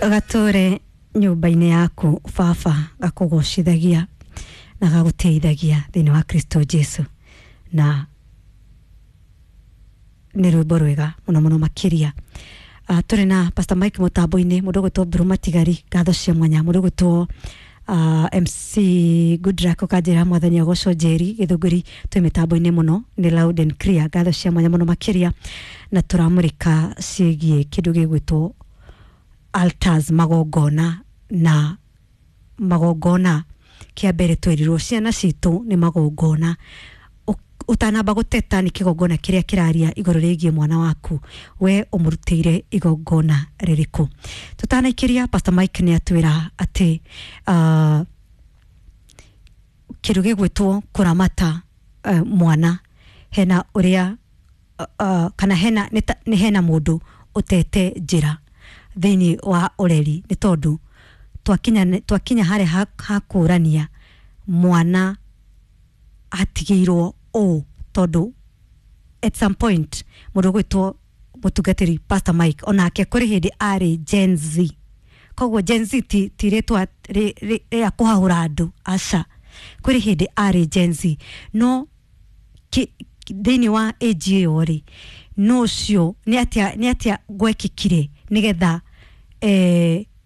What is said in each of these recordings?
Gatũre nyũmba-inĩ yaku baba, gakũgocithagia na gagũteithagia thĩinĩ wa Kristo Jesu. Na nĩ rwĩmbo rwega mũno mũno makĩria. Tũrĩ na Pastor Mike mũtambo-inĩ, mũndũ ũgwĩtwo Mburu Matigari, ngatho cia mwanya, mũndũ ũgwĩtwo MC Goodluck ũkanjĩra mwathani agocwo. Njeri Gĩthũngũri twĩ mĩtambo-inĩ mũno, nĩ loud and clear, ngatho cia mwanya mũno makĩria. Na tũramũrĩka ciĩgiĩ kĩndũ gĩgwĩtwo altars, magongona. Na magongona kĩa mbere twerirwo ciana citũ nĩ magongona. Ũtanamba gũteta nĩ kĩgongona kĩrĩa kĩraria igũrũ rĩgiĩ mwana waku, we ũmũrutĩire igongona rĩrĩkũ? Tũtanaikĩria, Pastor Mike nĩ atwĩra atĩ kĩndũ gĩgwĩtwo kũramata mwana hena ũrĩa kana hena nĩ hena mũndũ ũtete njĩra thĩinĩ wa ũreri, nĩ tondũ twakinya harĩa hakũrania mwana atigĩirwo ũũ, tondũ at some point mũndũ ũgwĩtwo mũtungatĩri Pastor Mike onake kũrĩ hĩndĩ arĩ Gen Z. Koguo Gen Z ti rĩtwa rĩa kũhahũra andũ, aca. Kũrĩ hĩndĩ arĩ Gen Z, no thĩinĩ wa age ĩyo rĩ, no ũcio nĩ atĩa gwekĩkire nĩgetha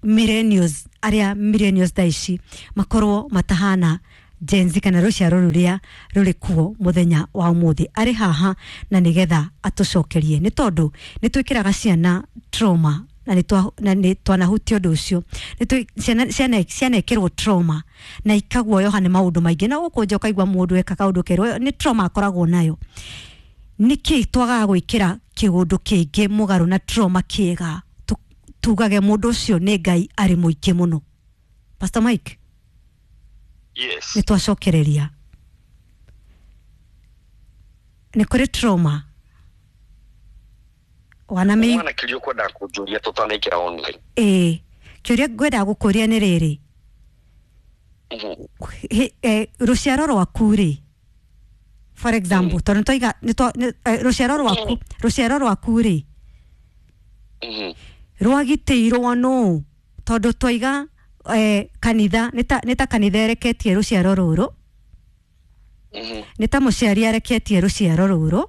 millennials, arĩa millennials thaa ici makorwo matahana Gen Z kana rũciaro rũrĩa rũrĩ kuo mũthenya wa ũmũthĩ? Arĩ haha na nĩgetha atũcokerie, nĩ tondũ nĩ twĩkĩraga ciana trauma na nĩ twanahutia ũndũ ũcio. Ciana cianekĩrwo trauma na ikaguoyoha nĩ maũndũ maingĩ, na gũkũ nja ũkaigua mũndũ eka kaũndũ kerũ nĩ trauma akoragwo nayo. Nĩkĩ twagaga gwĩkĩra kĩũndũ kĩngĩ mũgarũ na trauma kĩega, tugage mũndũ ũcio nĩ Ngai arĩ mũingĩ mũno? Pastor Mike. Yes. Nĩ twacokereria nĩ kũrĩ trauma wanamĩ. Mwana kĩũria ũkwendaga kũnjũria tũtanaingĩra online? Ĩĩ, kĩũria ngwendaga gũkũria nĩ rĩrĩ. Rũciaro rwaku rĩ, for example, tondũ nĩtwaiga rũciaro rwaku rĩ, rwagitĩirwo nũ? Tondũ twaiga kanitha nĩ ta kanitha ĩreketie rũciaro rũrũ, nĩ ta mũciari areketie rũciaro rũrũ,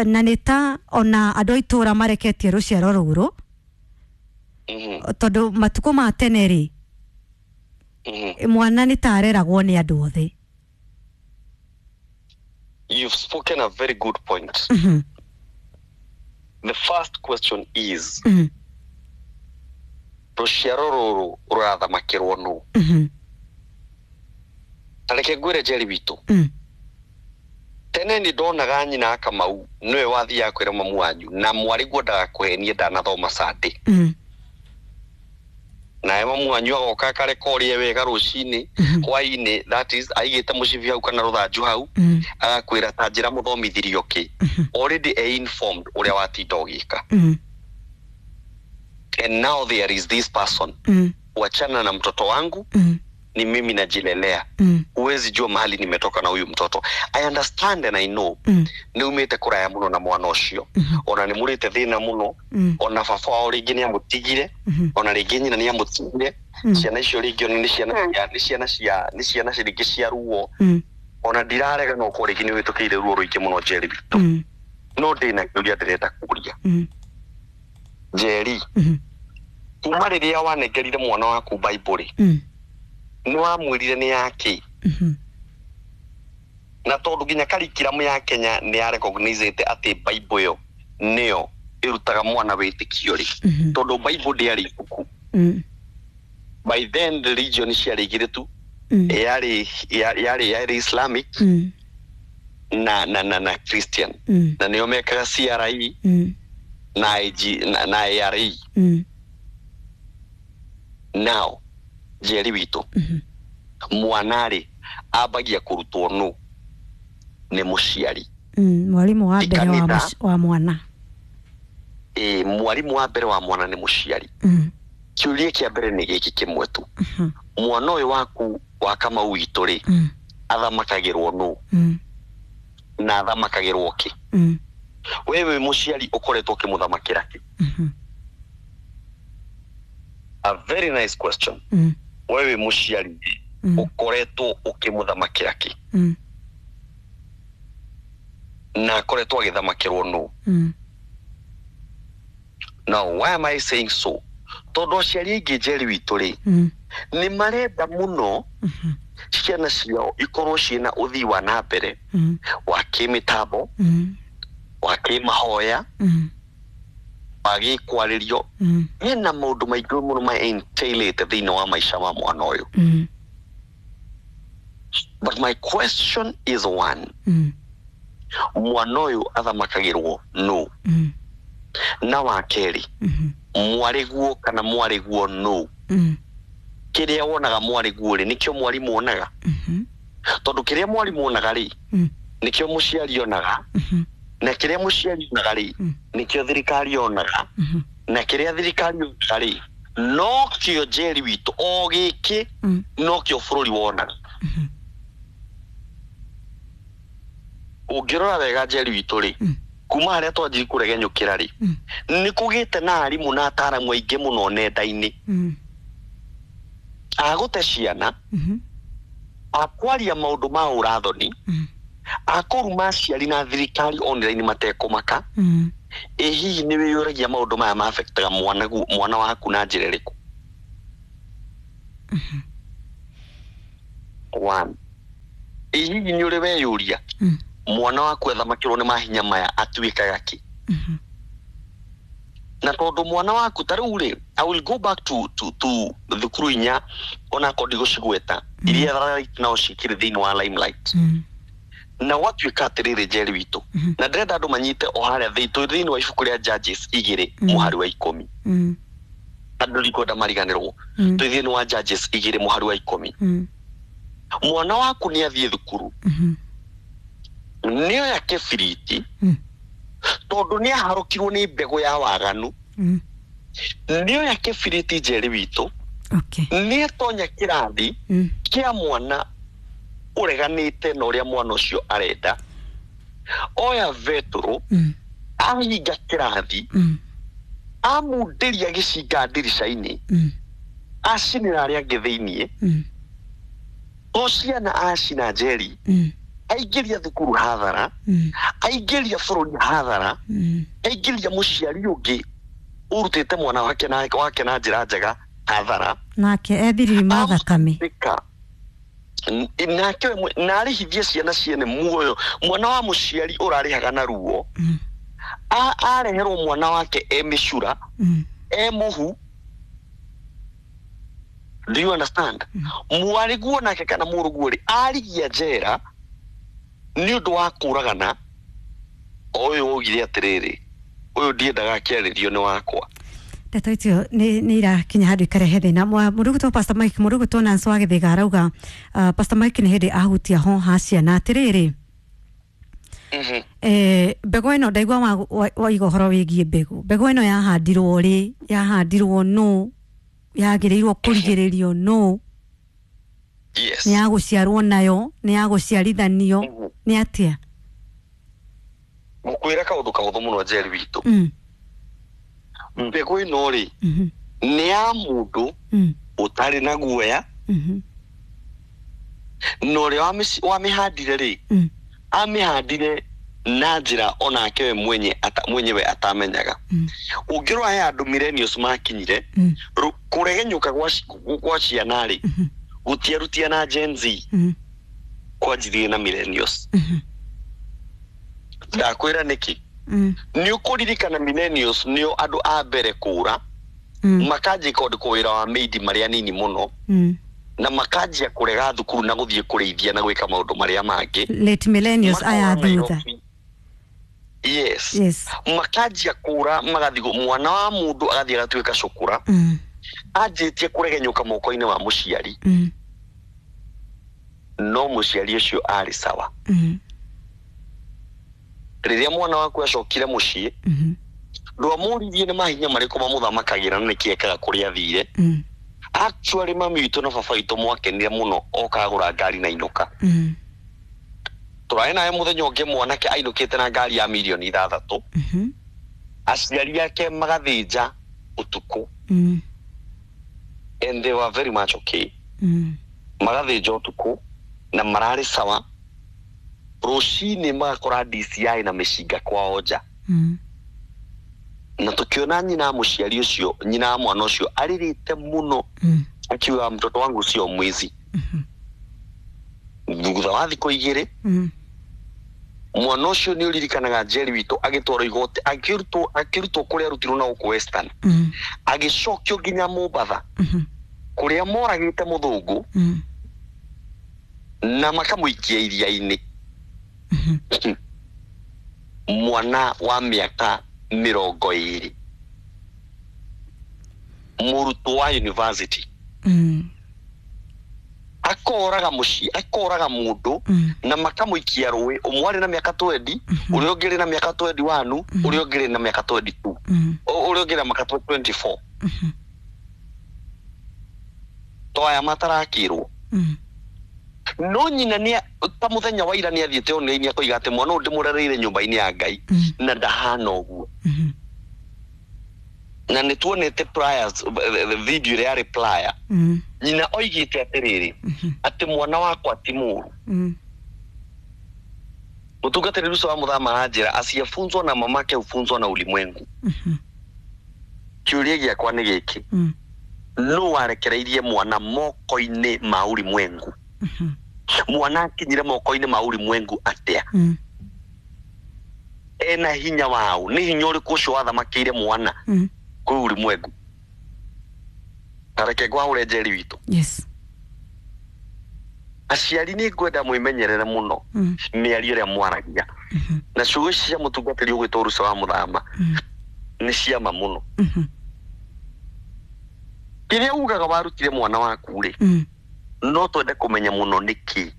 na nĩ ta ona andũ a itũũra mareketie rũciaro rũrũ, tondũ matukũ ma tene rĩ, mwana nĩ ta areragwo nĩ andũ othe. You've spoken a very good point. The first question is, rũciaro rũrũ rũrathamakĩrwo nũ? Ta reke ngwĩre, Njeri witũ, tene nĩ ndonaga nyina Akamau nĩwe wathiaga kwĩra mamu wanyu na mwarĩ guo ndagakũhenie ndanathoma Sunday, nawe mamu wanyu agoka akarekorie wega rũcinĩ, hwainĩ, that is aigĩte mũcibi hau kana rũthanju hau, agakwĩra ta njĩra mũthomithirio kĩ. Already e informed ũrĩa watinda ũgĩka. And now there is this person, wachana na mtoto wangu, ni mimi najilelea, huwezi jua mahali nimetoka na huyu mtoto. I understand and I know nĩ umĩte kũraya mũno na mwana ũcio, ona nĩ mũrĩte thĩna mũno, ona baba wao rĩngĩ nĩ amũtigire, ona rĩngĩ nyina nĩ amũtigire. Ciana icio rĩngĩ ona nĩ ciana rĩngĩ cia ruo. Ona ndirarega no korwo rĩngĩ nĩ wĩtũkĩire ruo rũingĩ mũno, Njeri witũ, no ndĩna kĩũria ndĩrenda kũria. Njeri, kuma rĩrĩa wanengerire mwana waku Bible rĩ, nĩ wamwĩrire nĩ yake? Na tondũ nginya curriculum ya Kenya nĩ ya recognizete atĩ Bible ĩyo nĩyo ĩrutaga mwana wĩtĩkio rĩ, tondũ Bible ndĩarĩ ibuku by then, religion ciarĩ igĩrĩ tu, yarĩ Islamic na Christian, na nĩo mekaga CRE na IG na ARE. Now Njeri witũ, mwana rĩ ambagia kũrutwo nũ? Nĩ mũciari. Mwarimũ wa mbere wa Kanitha. wa mwana. Ĩ, mwarimũ wa mbere wa mwana nĩ mũciari. Kĩũria kĩa mbere nĩ gĩkĩ kĩmwe tu: mwana ũyũ waku wa Kamau witũ rĩ, athamakagĩrwo nũ na athamakagĩrwo kĩ? We wĩ mũciari ũkoretwo ũkĩmũthamakĩra kĩ? A very nice question. We wĩ mũciari, ũkoretwo ũkĩmũthamakĩra kĩ? Na akoretwo agĩthamakĩrwo nũ? Now why am I saying so? Tondũ aciari aingĩ, Njeri witũ rĩ, nĩ marenda mũno ciana ciao ikorwo ciĩna ũthii wa na mbere wa kĩmĩtambo, wa kĩmahoya, wa gĩkwarĩrio. Hena maũndũ maingĩ mũno ma entailĩte thĩinĩ wa maica ma mwana ũyũ. But my question is one: mwana ũyũ athamakagĩrwo nũ? Na wa kerĩ, mwarĩguo kana mwarĩguo nũ? Kĩrĩa wonaga mwarĩguo rĩ, nĩkĩo mwarimũ onaga? Tondũ kĩrĩa mwarimũ onaga rĩ, nĩkĩo mũciari onaga, na kĩrĩa mũciari onaga rĩ, nĩkĩo thirikari onaga, na kĩrĩa thirikari onaga rĩ, nokĩo, Njeri witũ, o gĩkĩ nokĩo bũrũri wonaga. Ũngĩrora wega, Njeri witũ rĩ, kuma harĩa twanjiri kũregenyũkĩra rĩ, nĩ kũgĩte na arimũ na ataramu aingĩ mũno nenda-inĩ agũte ciana, akwaria maũndũ ma ũrathoni, akũruma aciari na thirikari online matekũmaka. Ĩ hihi nĩ wĩyũragia maũndũ maya maafectaga mwana mwana waku na njĩra ĩrĩkũ? One, ĩ hihi nĩ ũrĩ weyũria mwana waku athamakĩrwo nĩ mahinya maya atuĩkaga kĩ? Na tondũ mwana waku ta rĩu rĩ, I will go back to thukuru inya, onakorwo ndigũcigweta, iria right now cikĩrĩ thĩinĩ wa limelight. Na gwatuĩka atĩrĩrĩ, Njeri witũ, na ndĩrenda andũ manyite o harĩa twĩ thĩinĩ wa ibuku rĩa Judges 2 mũhari wa 10. Andũ ndikwenda mariganĩrwo. Twĩ thĩinĩ wa Judges 2 mũhari wa 10. Mwana waku nĩ athiĩ thukuru, nĩoya kĩbiriti, tondũ nĩ aharũkirwo nĩ mbegũ ya waganu. Nĩoya kĩbiriti, Njeri witũ, nĩ atonya kĩrathi kĩa mwana ũreganĩte na ũrĩa mwana ũcio arenda, oya betũrũ, ahinga kĩrathi, amundĩria gĩcinga ndirica-inĩ, acinĩra arĩa angĩ thĩiniĩ. To ciana acina, Njeri, aingĩria thukuru hathara, aingĩria bũrũri hathara, aingĩria mũciari ũngĩ ũrutĩte mwana wake na njĩra njega hathara. Nake ethiriri ma thakame. Ĩka. Nake we na arĩhithie ciana ciene muoyo. Mwana wa mũciari ũrarĩhaga na ruo, areherwo mwana wake e mĩcura, e mũhu. Do you understand? Mwarĩguo nake kana mũrũguo rĩ, arigia njera nĩ ũndũ wa kũragana. O ũyũ waugire atĩrĩrĩ, ũyũ ndiendaga akĩarĩrio nĩ wakwa. Ndeto icio nĩ irakinya handũ ikarehe thĩna. Mũndũ ũgwĩtwo Pastor Mike, mũndũ ũgwĩtwo Nancy wa Gĩthĩga arauga, Pastor Mike nĩ hĩndĩ ahutia ho ha ciana atĩrĩrĩ, mbegũ ĩno ndaigua waiga ũhoro wĩgiĩ mbegũ. Mbegũ ĩno yahandirwo rĩ? Yahandirwo nũ? Yagĩrĩirwo kũrigĩrĩrio nũ? Yes. Nĩ ya gũciarwo nayo? Nĩ ya gũciarithanio? Nĩ atĩa? Ngũkwĩra kaũndũ kahũthũ mũno, Njeri witũ. Mbegũ ĩno rĩ, nĩ ya mũndũ ũtarĩ na guoya, na ũrĩa wamĩhandire rĩ, amĩhandire na njĩra onake we mwenye mwenyewe atamenyaga. Ũngĩrora he andũ millennials makinyire kũregenyũka gwa ciana rĩ, gũtiarutia na Gen Z, kwanjirie na millennials. Ndakwĩra nĩkĩ. Nĩ ũkũririkana millennials nĩo andũ a mbere kũra, makanjia kwandĩkwo wĩra wa maid marĩa nini mũno, na makanjia kũrega thukuru na gũthiĩ kũrĩithia na gwĩka maũndũ marĩa mangĩ. Late millennials aya Makora thutha. Nairobi. Yes. Yes. Makanjia kũra, magathiĩ mwana wa mũndũ agathiĩ agatuĩka cukura, anjĩtie kũregenyũka moko-inĩ wa mũciari. No mũciari ũcio arĩ sawa. Rĩrĩa mwana waku acokire mũciĩ, ndwamũririe nĩ mahinya marĩkũ mamũthamakagĩra na nĩkĩ ekaga kũrĩa athire. Actually, mami witũ na baba witũ mwakenire mũno okagũra ngari na inũka. Tũrarĩ nawe mũthenya ũngĩ, mwanake ainũkĩte na ngari ya mirioni 6, aciari ake magathĩnja ũtukũ. And they were very much okay. Magathĩnja ũtukũ na mararĩ sawa, rũcinĩ magakora DCI na mĩcinga kwao nja. Na tukiona nyina wa mũciari ũcio, nyina wa mwana ũcio arĩrĩte mũno, akiuga mtoto wangu sio mwizi. Thutha wa thikũ 2, mwana ũcio nĩ ũririkanaga Njeri witũ agĩtwarwo igoti, akĩrutwo kũrĩa arutirwo na gũkũ Western, agĩcokio nginya Mombatha, kũrĩa moragĩte mũthũngũ, na makamũikia iria-inĩ. Mwana wa mĩaka 20, mũrutwo wa university, akoraga mũciĩ, akoraga mũndũ, na makamũikia rũĩ. Ũmwe arĩ na mĩaka 20, ũrĩa ũngĩ arĩ na mĩaka 21, ũrĩa ũngĩ arĩ na mĩaka 22, ũrĩa ũngĩ na mĩaka 24. To aya matarakĩrwo. No nyina nĩ ta mũthenya wa ira nĩ athiĩte online akoiga atĩ mwana ũyũ ndĩmũrereire nyũmba-inĩ ya Ngai, na ndahana ũguo. Na nĩ tuonete priors video ĩrĩa yarĩ prior, nyina oigĩte atĩrĩrĩ, atĩ mwana wakwa ti mũũru. Mũtungatĩri Ruso wa Mũthama aranjĩra asiyefunzwa na mamake hufunzwa na ulimwengu. Kĩũria gĩakwa nĩ gĩkĩ, nũ warekereirie mwana moko-inĩ ma ulimwengu? Mwana akinyire moko-inĩ ma ulimwengu atĩa? Ena hinya wao? Nĩ hinya ũrĩkũ ũcio wathamakĩire mwana kwĩ ulimwengu? Ta reke ngwahũre Njeri witũ. Yes. Aciari nĩ ngwenda mwĩmenyerere mũno mĩario ĩrĩa mwaragia, na ciugo ici cia mũtungatĩri ũgwĩtwo Ruso wa Mũthama nĩ ciama mũno. Kĩrĩa ugaga warutire mwana waku rĩ, no twende kũmenya mũno nĩkĩ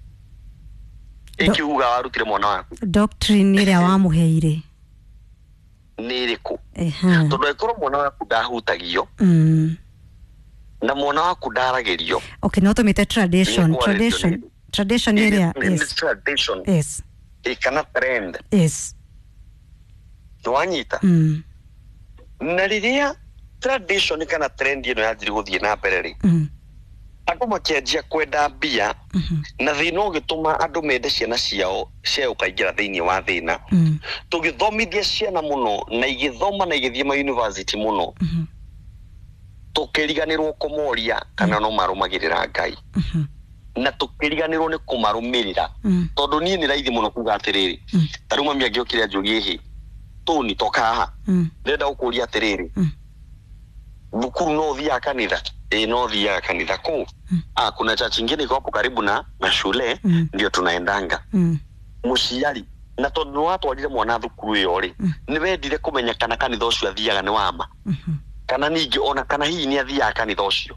ĩkĩ ugaga warutire mwana waku. Doctrine ĩrĩa wamũheire nĩ ĩrĩkũ? Tondũ angĩkorwo mwana waku ndahutagio, na mwana waku ndaragĩrio. Okay, no tũmĩte tradition, tradition, tradition ĩrĩa, yes. Tradition. Yes. Kana trend. Yes. Nĩwanyita? Na rĩrĩa tradition kana trend ĩno yanjirie gũthiĩ na mbere rĩ, andũ makĩanjia kwenda mbia, na thĩna ũgĩtũma andũ mende ciana ciao cia ũkaingĩra thĩinĩ wa thĩna. Tũgĩthomithia ciana mũno, na igĩthoma na igĩthiĩ ma university mũno, tũkĩriganĩrwo kũmoria kana no marũmagĩrĩra Ngai, na tũkĩriganĩrwo nĩ kũmarũmĩrĩra. Tondũ niĩ nĩ raithi mũno kuga atĩrĩrĩ, ta rĩu mami angĩokire anjũrie, ĩhĩ Tony toka haha, ndĩrenda gũkũria atĩrĩrĩ, thukuru no ũthiaga kanitha? Ĩĩ no thiaga kanitha. Kũ? Kuna church ingine iko hapo karibu na shule, ndio tunaendanga. Mũciari, na tondũ nĩ watwarire mwana thukuru ĩyo rĩ, nĩ wendire kũmenya kana kanitha ũcio athiaga nĩ wama, kana ningĩ ona kana hihi nĩ athiaga kanitha ũcio,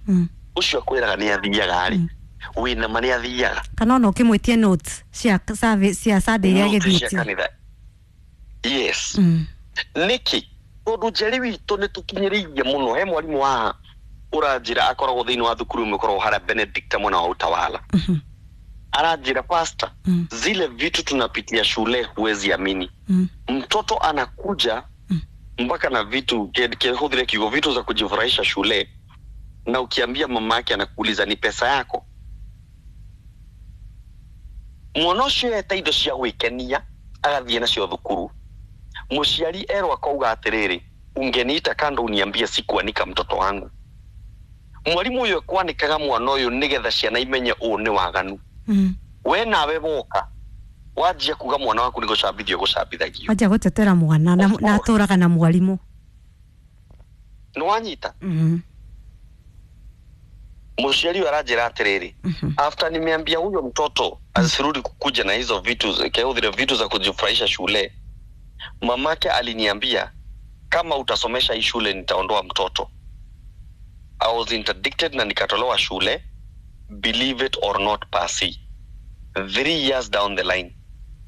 ũcio akwĩraga nĩ athiaga rĩ, wĩna ma nĩ athiaga? Kana ona ũkĩmwĩtie notes cia service cia Sunday iria agĩthiĩte. Yes. Nĩkĩ? Tondũ Njeri witũ nĩ tũkinyĩrĩirie mũno. He mwarimũ wa ũranjĩra akoragwo thĩinĩ wa thukuru ĩmwe ĩkoragwo harĩa Benedict mwena wa Utawala. Aranjĩra, pastor, zile vitu tunapitia shule huwezi amini. Mtoto anakuja mpaka na vitu kehudhire kiugo vitu za kujifurahisha shule, na ukiambia mama yake anakuuliza ni pesa yako. Mwana ũcio eta indo cia gwĩkenia agathiĩ nacio thukuru. Mũciari erwo akauga atĩrĩrĩ, ungeniita kando uniambie sikuanika mtoto wangu. Mwarimu ũyũ ekwanĩkaga mwana ũyũ nĩgetha ciana imenye ũũ nĩ waganu. We nawe woka wanjia kuga mwana waku nĩ gũcambithio gũcambithagio, wanjia gũtetera mwana na atũraga na mwarimu. Nĩ wanyita? Mũciari ũyũ aranjĩra atĩrĩrĩ, after nimeambia huyo mtoto asirudi kukuja na hizo vitu kehudhire vitu za kujifurahisha shule, mamake aliniambia kama utasomesha hii shule nitaondoa mtoto. I was interdicted na nikatolewa shule. Believe it or not, pasi 3 years down the line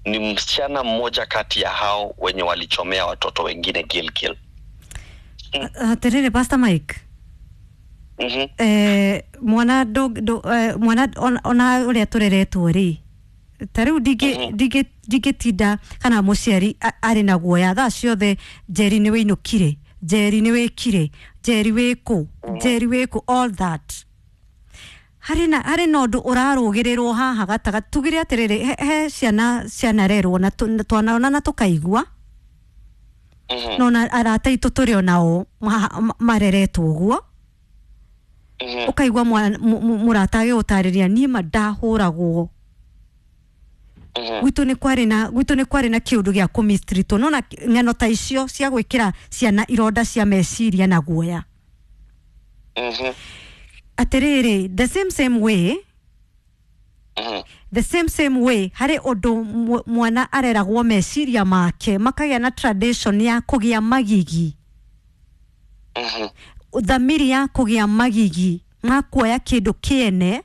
ni msichana mmoja kati ya hao wenye walichomea watoto wengine Gilgil. Atiriri Pastor Mike. Mwana mwana ona uria tureretwo ri ta riu ndingĩtinda kana mũciari arĩ na guoya thaa ciothe, Njeri nĩ wĩinũkire, Njeri nĩ wĩkire, Njeri wĩkũ, Njeri wĩkũ, all that. Harĩ na ũndũ ũrarũgĩrĩrwo haha gatagatĩ. Tugire atĩrĩrĩ, he ciana cianarerwo na twanona na tũkaigua, no na arata aitũ tũrĩ onao mareretwo ũguo. Ũkaigua mũrata agĩgũtarĩria, niĩ ma ndahũragwo, gwitũ nĩ kwarĩ na kĩũndũ gĩa kũmistritwo. Nona ng'ano ta icio cia gwĩkĩra ciana ironda cia meciria na guoya. Atĩrĩrĩ, the same same way, the same same way, harĩ ũndũ mwana areragwo meciria make makagĩa na tradition ya kũgĩa magigi, thamiri ya kũgĩa magigi ma kuoya kĩndũ kĩene,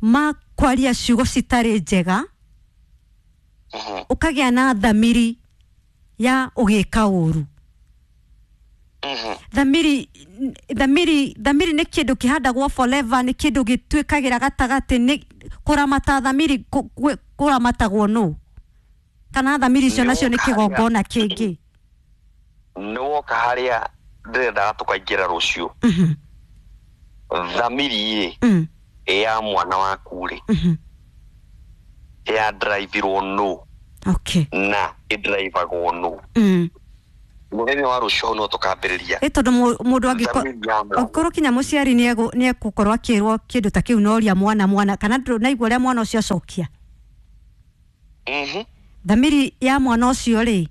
ma kwaria ciugo citarĩ njega, ũkagĩa na thamiri ya ũgĩka ũru. Thamiri nĩ kĩndũ kĩhandagwo forever, nĩ kĩndũ gĩtuĩkagĩra gatagatĩ. Nĩ kũramata thamiri, kũramatagwo nũ? Kana thamiri icio nacio nĩ kĩgongona kĩngĩ? Nĩ woka harĩa ndĩrendaga tũkaingĩra rũciũ. Thamiri ĩ ya mwana waku rĩ, ya drivirwo nũ? Na ĩndrivagwo nũ? Mũthenya wa rũciũ hau no tũkambĩrĩria. Ĩ tondũ mũndũ angĩkorwo Thamiri ya mwana. Angĩkorwo kinya mũciari nĩ egũkorwo akĩrwo kĩndũ ta kĩu, noria mwana kana ndũnaigua ũrĩa mwana ũcio acokia, thamiri ya mwana ũcio rĩ?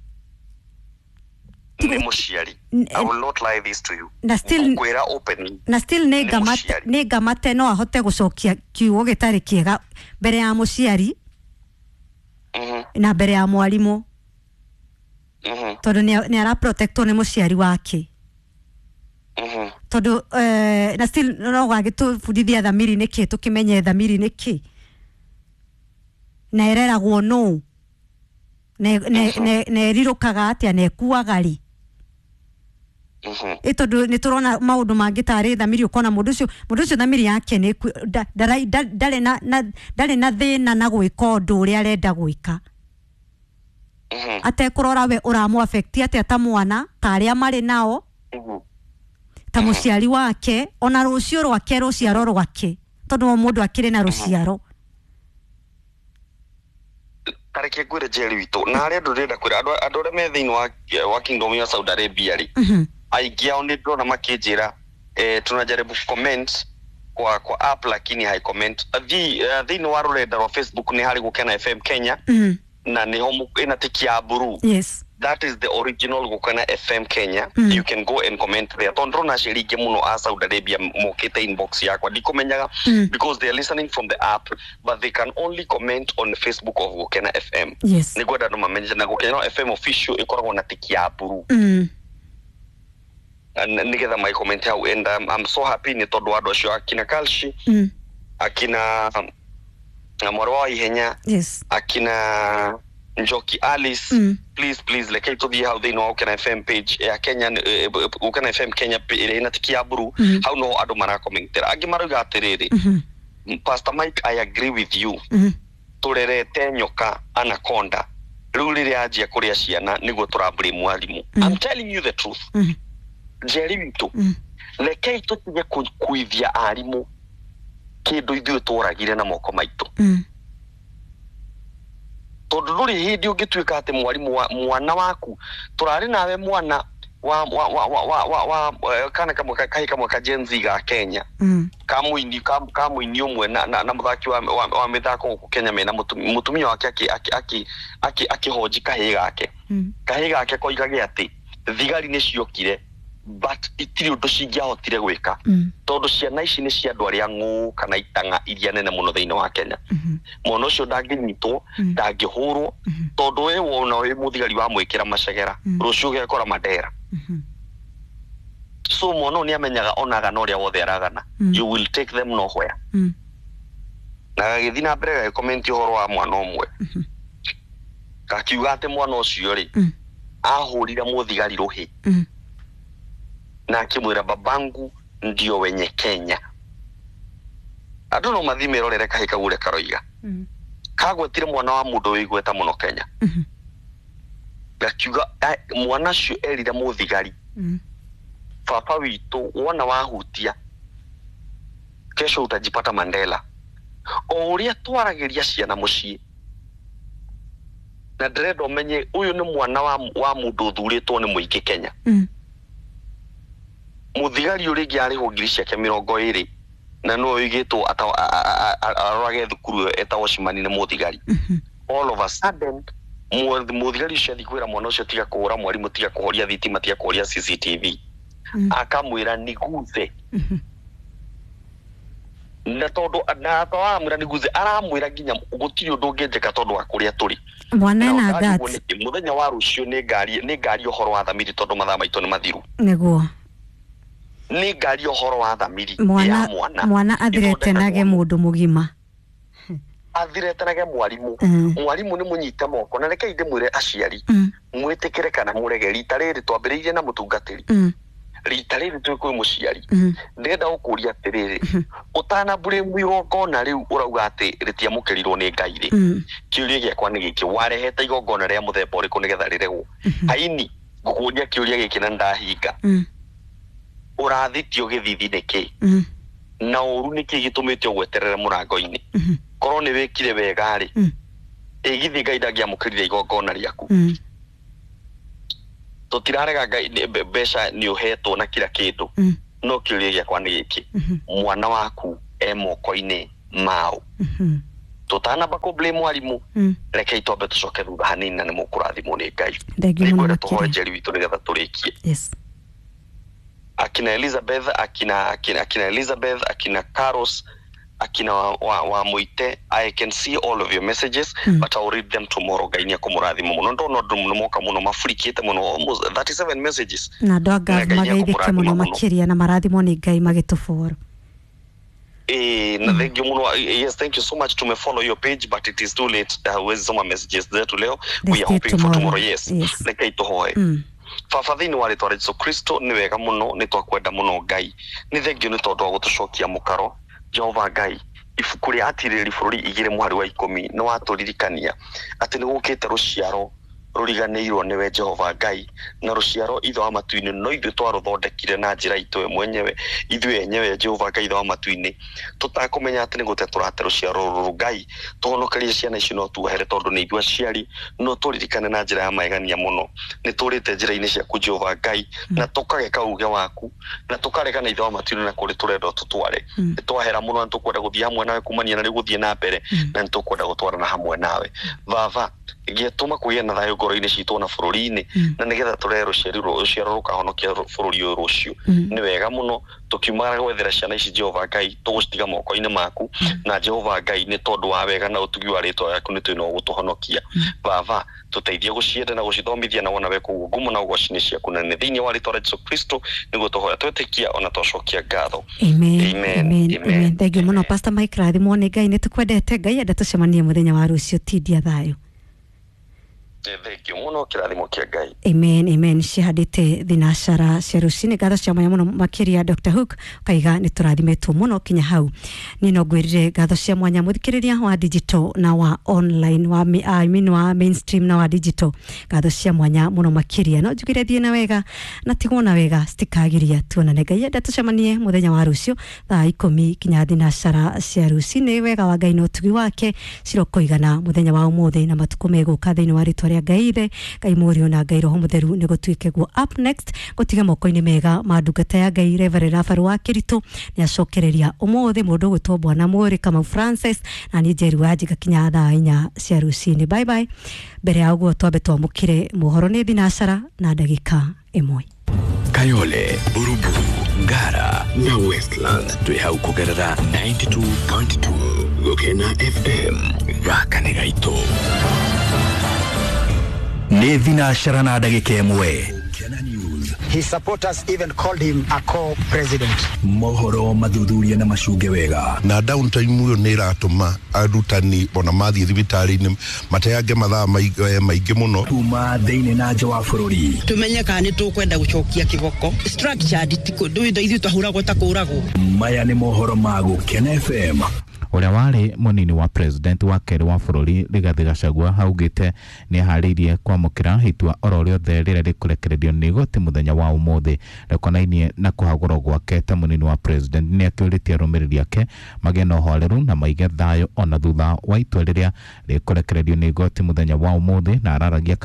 Nĩ mũciari. I will not lie this to you. Na still Ngũkwĩra openly. Na still nĩ Nĩ ngamate mũciari. Nĩ ngamate no ahote gũcokia kiugo gĩtarĩ kĩega mbere ya mũciari na mbere ya mwarimũ, tondũ nĩ araprotectwo nĩ mũciari wake, tondũ na still no gagĩtũbundithia thamiri nĩ kĩ, tũkĩmenye thamiri nĩ kĩ na ĩreragwo nũ na ĩrirũkaga atĩa na ĩkuaga rĩ. Ĩ tondũ nĩ tũrona maũndũ mangĩ tarĩ thamiri, ũkona mũndũ ũcio thamiri yake nĩ ndarĩ na thĩna na gwĩka ũndũ ũrĩa arenda gwĩka, atekũrora we ũramũ affect atĩa ta mwana, ta arĩa marĩ nao, ta mũciari wake, ona rũciũ rwake, rũciaro rwake, tondũ o mũndũ akĩrĩ na rũciaro. Tareke ngwĩre, Njeri witũ, na harĩa andũ ndĩrenda kwĩra andũ arĩa me thĩinĩ wa kingdom ya Saudi Arabia rĩ, aingĩ ao nĩ ndĩrona makĩnjĩra, tunajaribu comment kwa app lakini hai comment. Thĩinĩ wa rũrenda rwa Facebook nĩ harĩ Gũkena FM Kenya, na nĩho ĩna tiki ya blue. That is the original Gũkena FM Kenya. You can go and comment there, tondũ ndĩrona aciari aingĩ mũno a Saudi Arabia mokĩte inbox yakwa, ndikũmenyaga, because they are listening from the app, but they can only comment on Facebook of Gũkena FM. Nĩngwenda andũ mamenye na Gũkena FM official ĩkoragwo na tiki ya blue, nĩgetha magĩcomment hau. And I'm so happy nĩ tondũ wa andũ acio, akina Kalshi, akina na mwarĩ wa Ihenya, akina Njoki Alice. Please, please, rekei tũthiĩ hau thĩinĩ wa Gũkena FM page ya Kenya, Gũkena FM Kenya ĩrĩa ĩna tiki ya blue. Hau no andũ marakomentera, angĩ marauga atĩrĩrĩ, "Pastor Mike, I agree with you. Tũrerete nyoka anaconda, rĩu rĩrĩa anjia kũrĩa ciana nĩguo tũrablame mwarimũ." I'm telling you the truth, Njeri witũ. Rekei tũtige kũithia arimũ kĩndũ ithuĩ tworagire na moko maitũ, tondũ ndũrĩ hĩndĩ ũngĩtuĩka atĩ mwarimũ wa mwana waku tũrarĩ nawe mwana wa kana kamwe kahĩ kamwe ka Gen Z ga Kenya, ka mũini ũmwe na mũthaki wa mĩthako gũkũ Kenya, mena mũtumia wake akĩhonji kahĩĩ gake. Kahĩĩ gake koigage atĩ thigari nĩ ciokire but itirĩ ũndũ cingĩahotire gwĩka, tondũ ciana ici nĩ cia andũ arĩa ng'ũ kana itang'a iria nene mũno thĩinĩ wa Kenya. Mwana ũcio ndangĩnyitwo, ndangĩhũrwo, tondũ we wona wĩ mũthigari wamwĩkĩra macegera, rũciũ ũgekora Mandera. So mwana ũyũ nĩ amenyaga onaga na ũrĩa wothe aragana, you will take them nowhere. Na gagĩthiĩ na mbere gagĩkomenti ũhoro wa mwana ũmwe, gakiuga atĩ mwana ũcio rĩ, ahũrire mũthigari rũhĩ na akĩmwĩra, "Babangu ndio wenye Kenya." Andũ no mathiĩ merorere kahĩ kau ũrĩa karoiga. Kagwetire mwana wa mũndũ wĩ igweta mũno Kenya, gakiuga mwana ũcio erire mũthigari. Baba witũ wona wahutia kesho utajipata Mandela. O ũrĩa twaragĩria ciana mũciĩ, na ndĩrenda ũmenye ũyũ nĩ mwana wa mũndũ ũthurĩtwo nĩ mũingĩ Kenya. Mũthigari ũrĩa ũngĩ arĩhwo ngiri ciake 20 na no oigĩtwo arorage thukuru ĩyo etagwo Cimani nĩ mũthigari. All of a sudden mũthigari ũcio athiĩ kwĩra mwana ũcio tiga kũhũra mwarimũ, tiga kũhoria thitima, tiga kũhoria CCTV, akamwĩra niguthe. Na tondũ na aramwĩra niguthe, aramwĩra nginya gũtirĩ ũndũ ũngĩnjĩka tondũ wa kũrĩa tũrĩ. Mwana ena guts. Mũthenya wa rũciũ nĩ ngari ũhoro wa thamiri tondũ mathaa maitũ nĩ mathiru. Nĩguo. Nĩ ngari ũhoro wa thamiri ya mwana. Mwana athiretenage mũndũ mũgima. Athiretenage mwarimu. Mwarimu nĩ mũnyite moko na rekei ndĩmwĩre aciari mwĩtĩkĩre kana mũrege. Rita rĩrĩ twambĩrĩirie na mũtungatĩri, rita rĩrĩ twĩ kwĩ mũciari. Ndĩrenda gũkũria atĩrĩrĩ, ũtanambũrĩmu igongona rĩu ũrauga atĩ rĩtiamũkĩrirwo nĩ Ngai rĩ, kĩũria gĩakwa nĩ gĩkĩ, warehete igongona rĩa mũthemba ũrĩkũ nĩgetha rĩregwo? Aini ngũkũria kĩũria gĩkĩ na ndahinga, ũrathitio gĩthithi nĩkĩ na ũru nĩkĩ gĩtũmĩte ũgweterere mũrango-inĩ? Korwo nĩ wĩkire wega rĩ, ĩgithĩ Ngai ndangĩamũkĩrire igongona rĩaku. Tũtirarega Ngai mbeca nĩ ũhetwo na kila kĩndũ, no kĩũria gĩakwa nĩ gĩkĩ, mwana waku e moko-inĩ mao. Tũtanamba kũ blame mwarimũ, rekei twambe tũcoke thutha hanini na nĩ mũkũrathimwo nĩ Ngai. Nĩngwenda tũhoe Njeri witũ nĩgetha tũrĩkie. Yes. Akina Elizabeth, akina Elizabeth, akina Carlos, akina wa Muite, I can see all of your messages, but I'll read them tomorrow. Ngai nĩ akũmũrathima mũno. Ndona ũndũ mũno moka mũno mafurikĩte mũno, almost 37 messages. Na andũ a Ngav mageithĩke mũno makĩria na marathimwo nĩ Ngai magĩtũboro. Na thank you muno. Yes, thank you so much. To follow your page, but it is too late. Huwezi soma messages zetu leo. We are hoping for tomorrow. Yes. Rekei tũhoe. Baba thĩinĩ wa rĩtwa rĩa Jesũ Kristo, nĩ wega mũno, nĩ twakwenda mũno Ngai. Nĩ thengio nĩ tondũ wa gũtũcokia mũkaro. Jehova Ngai, ibuku rĩa Atirĩrĩri bũrũri 2 mũhari wa 10 nĩ watũririkania atĩ nĩ gũkĩte rũciaro rũriganĩirwo nĩwe Jehova Ngai, na rũciaro ithe wa matu-inĩ no ithuĩ twarũthondekire na njĩra itũ mwenyewe, ithuĩ enyewe Jehova Ngai ithe wa matu-inĩ, tũtakũmenya atĩ nĩ gũte tũrate rũciaro rũrũ. Ngai, tũhonokerie ciana ici no tuohere tondũ nĩ ithuĩ aciari, no tũririkane na njĩra ya magegania mũno. Nĩ tũrĩte njĩra-inĩ ciaku Jehova Ngai, na tũkareka uge waku, na tũkareka na ithe wa matu-inĩ na kũrĩ tũrenda tũtware. Nĩ twahera mũno na tũkwenda gũthiĩ hamwe nawe kumania na rĩu gũthiĩ na mbere, na nĩ tũkwenda gũtwarana hamwe nawe. Baba, gĩtũma kũgĩe na thayũ ngoro-inĩ citũ na bũrũri-inĩ, na nĩgetha tũrehe rũciaro rũkahonokia bũrũri ũyũ rũciũ. Nĩ wega mũno tũkiumagara gwethera ciana ici Jehova Ngai, tũgũcitiga moko-inĩ maku, na Jehova Ngai nĩ tondũ wa wega na ũtugi wa rĩtwa rĩaku nĩ twĩna gũtũhonokia. Baba, tũteithie gũcienda na gũcithomithia na wona we kũguo ngumo na ũgoci nĩ ciaku, na nĩ thĩinĩ wa rĩtwa rĩa Jesũ Kristo nĩguo tũhoya twĩtĩkia ona twacokia ngatho. Amen. Amen. Amen. Thank you mũno Pastor Mike, rathimwo nĩ Ngai, nĩ tũkwendete. Ngai enda tũcemanie mũthenya wa rũciũ. Tindia thayũ. Thank you mũno, kĩrathimo kĩa Ngai. Amen, amen. Cihandĩte thinacara cia rũcinĩ. Ngatho cia mwanya mũno makĩria Dr. Hook kaiga nĩ tũrathimĩtwo mũno kinya hau. Niĩ no ngwĩrire ngatho cia mwanya mũthikĩrĩria wa digital na wa online, wa I mean wa mainstream na wa digital. Ngatho cia mwanya mũno makĩria. No njugire thiĩ na wega na tigwo na wega citikagiria tuonane. Ngai enda tũcemanie mũthenya wa rũciũ thaa 10 kinya thinacara cia rũcinĩ. Wega wa Ngai na ũtugi wake cirokoigana mũthenya wa ũmũthĩ na matukũ megũka thĩinĩ wa rĩtwa rĩa Ngai Ithe, Ngai Mũriũ na Ngai Roho Mũtheru nĩ gũtuĩke guo. Up next gũtiga moko-inĩ mega ma ndungata ya Ngai Reverend Rafael wa Kĩritũ nĩ acokereria ũmũthĩ mũndũ ũgwĩtwo Bwana Mũrĩ Kamau Francis na niĩ Njeri wa Njiga kinya thaa 4 cia rũcinĩ. Bye bye. Mbere ya ũguo twambe twamũkĩre mohoro nĩ thinacara na ndagĩka 1. Kayole, Buruburu, Ngara na Westland twĩ hau kũgerera 92.2 Gũkena FM. Gaka nĩ gaitũ. Nĩ thinacara na ndagĩka 1. His supporters even called him a co-president. Mohoro mathuthuria na macunge wega. Na downtime ũyũ nĩ ĩratũma arutani ona mathiĩ thibitarĩ-inĩ mateange mathaa maingĩ mũno. Kuma thĩinĩ na nja wa bũrũri. Tumenye kana nĩ tũkwenda gũcokia kĩboko. Structured ti kũndũ ithuĩ twahũragwo ta kũragwo. Maya nĩ mohoro ma Gũkena FM. Ũrĩa warĩ mũnini wa president wa kerĩ wa bũrũri Rigathĩ Gachagua augĩte nĩ aharĩirie kwamũkĩra itua oro rĩothe rĩrĩa rĩkũrekererio nĩ igoti mũthenya wa ũmũthĩ rĩkonainie na kũhagũrwo gwake ta mũnini wa president. Nĩ akĩũrĩtie arũmĩrĩri ake magĩe na ũhoreru na maige thayũ ona thutha wa itua rĩrĩa rĩkũrekererio nĩ igoti mũthenya wa ũmũthĩ, na araragia.